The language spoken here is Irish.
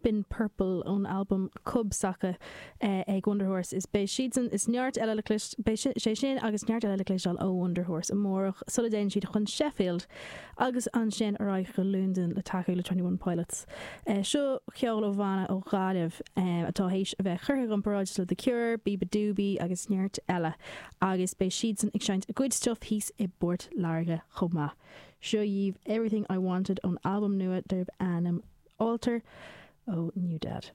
Been Purple ón albam Cub s'acu ag Wunderhorse. Is beidh siadsan is neart eile le clois, beidh sé sin agus neart eile le cloisteáil ó Wunderhorse amárach sula dtéann siad chun Sheffield agus ansin ar aghaidh go Londain le tacú le 21 Pilots. Seo ceol ó bhanna ó Ghaillimh atá théis a bheith curtha i gcomparáid le The Cure, Beabadoobee agus neart eile agus beidh siadsan ag seinnt a gcuid stuif thíos i bPort Láirge chomh maith. Seo dhaoibh Everything I Wanted ón albam nua darb ainm Altar ó NewDad.